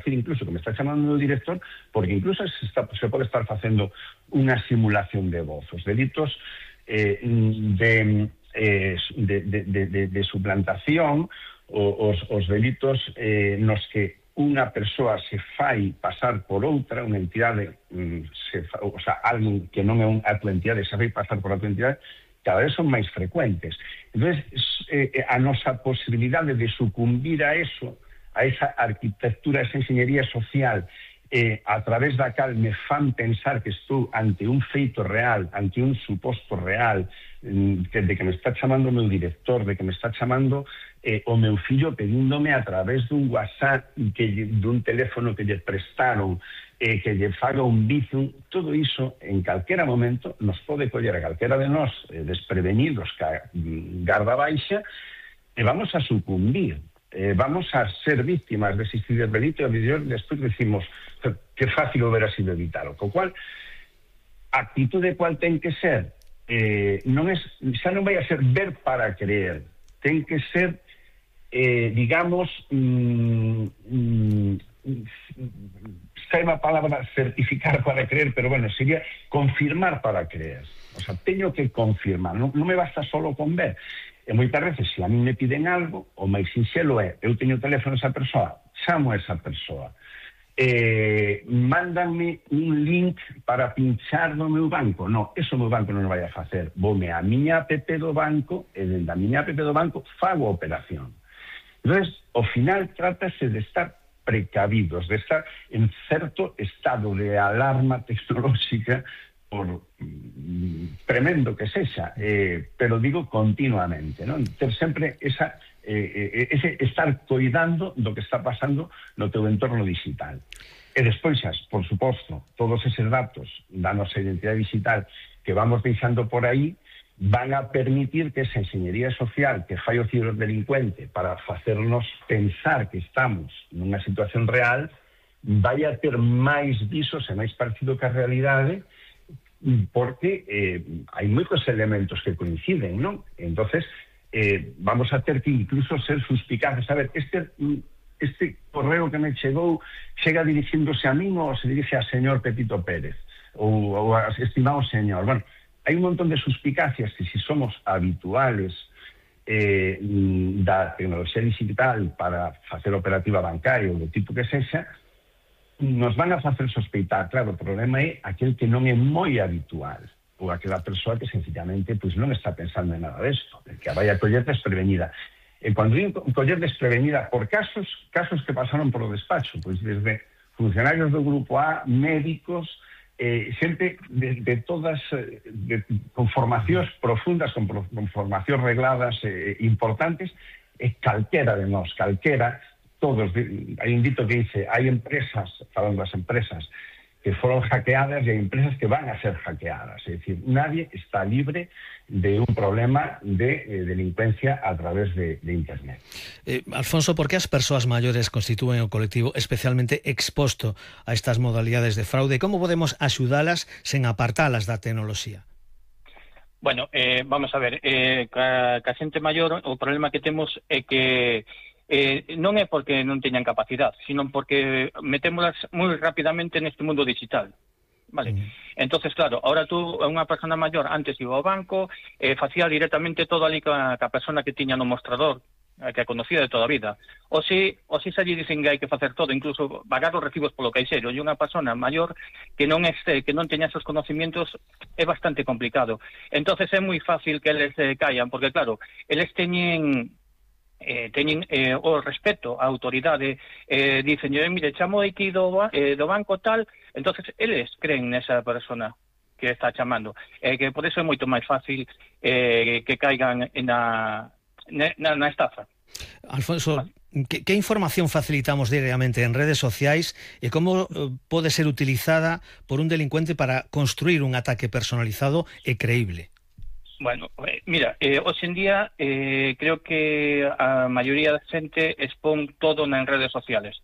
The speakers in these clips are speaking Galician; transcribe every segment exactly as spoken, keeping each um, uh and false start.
dicir incluso que me está chamando o director, porque incluso se, está, se pode estar facendo unha simulación de voz. Os delitos eh, de, eh, de, de, de, de suplantación, os, os delitos eh, nos que unha persoa se fai pasar por outra, unha entidade, se fa, o sea, alguén que non é a tua entidade se fai pasar por a tua entidade, cada vez son máis frecuentes. Entón, eh, a nosa posibilidade de sucumbir a eso, a esa arquitectura, a esa enxeñería social, eh, a través da cal me fan pensar que estou ante un feito real, ante un suposto real, que, de que me está chamando o meu director, de que me está chamando eh, o meu fillo pedíndome a través dun WhatsApp, que, dun teléfono que lle prestaron, eh, que lle faga un bizum. Todo iso, en calquera momento, nos pode coller a calquera de nós eh, desprevenidos, ca, garda baixa, e vamos a sucumbir. Eh, vamos a ser víctimas dese delito e despois decimos que fácil hubiera sido evitalo. Co cual, a actitude cual ten que ser, eh, non es, xa non vai a ser ver para creer, ten que ser, eh, digamos, mm, mm, sei a palabra certificar para creer, pero bueno, sería confirmar para creer. O sea, teño que confirmar, non, non me basta solo con ver. E moitas veces, se a mí me piden algo, o máis sinxelo é, eu teño o teléfono esa persoa, chamo a esa persoa, eh, mándanme un link para pinchar no meu banco. No, eso o meu banco non o vai a facer. Voume a miña app do banco, e dende a miña app do banco fago a operación. Entón, ao final, trátase de estar precavidos, de estar en certo estado de alarma tecnolóxica, por mm, tremendo que sexa, eh, pero digo continuamente, non? Ter sempre esa, eh, ese estar coidando do que está pasando no teu entorno digital. E despois, por suposto, todos eses datos da nosa identidade digital que vamos deixando por aí van a permitir que esa enxeñería social que fai o ciberdelincuente para facernos pensar que estamos nunha situación real vai a ter máis visos e máis parecido que a realidade, porque eh, hai moitos elementos que coinciden, non? Entonces, eh, vamos a ter que incluso ser suspicaces. A ver, este, este correo que me chegou chega dirixiéndose a min ou se dirixe a señor Pepito Pérez ou, ou a estimado señor. Bueno, hai un montón de suspicacias que si somos habituales eh, da tecnoloxía digital para facer operativa bancaria ou do tipo que sexa, nos van a facer sospeitar. Claro, o problema é aquel que non é moi habitual, ou aquela persoa que sencillamente pues, non está pensando en nada desto, que a vai a coller desprevenida. E cando digo coller desprevenida por casos, casos que pasaron por o despacho, pois desde funcionarios do Grupo A, médicos, eh, xente de, de todas, de, con formacións profundas, con, con formacións regladas eh, importantes, e calquera de nós, calquera, todos, hai un dito que dice, hai empresas, falando das empresas, que foron hackeadas e hai empresas que van a ser hackeadas. É dicir, nadie está libre de un problema de eh, delincuencia a través de, de Internet. Eh, Alfonso, por que as persoas maiores constitúen o colectivo especialmente exposto a estas modalidades de fraude? Como podemos axudalas sen apartalas da tecnoloxía? Bueno, eh, vamos a ver, eh, ca, ca xente maior o problema que temos é que Eh, non é porque non teñan capacidade, sino porque metémolas moi rapidamente neste mundo digital, vale? Mm. Entonces, claro, ahora tú, unha persona maior, antes iba ao banco, eh, facía directamente todo ali ca, ca persona que tiña no mostrador, eh, que a conocía de toda a vida. O si, o si se lle dicen que hai que facer todo, incluso pagar os recibos polo caixero, e unha persona maior que non este, que non teña esos conocimientos é bastante complicado. Entonces é moi fácil que eles eh, caian, porque claro, eles teñen Eh, teñen eh, o respeto á autoridade, eh, dicen, mire, chamo aquí do, eh, do banco tal, entonces eles creen nesa persona que está chamando, eh, que por eso é moito máis fácil eh, que caigan na, na, na estafa. Alfonso, vale. que, que información facilitamos diariamente en redes sociais e como eh, pode ser utilizada por un delincuente para construir un ataque personalizado e creíble? Bueno, mira, eh, hoxe en día eh, creo que a maioría da xente expón todo nas redes sociales.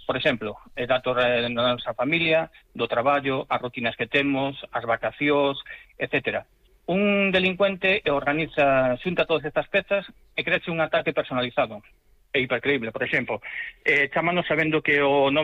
Por exemplo, eh, datos da nosa familia, do traballo, as rutinas que temos, as vacacións, etcétera. Un delincuente organiza, xunta todas estas pezas e creaxe un ataque personalizado e hipercreíble. Por exemplo, eh, chámanos sabendo que o nome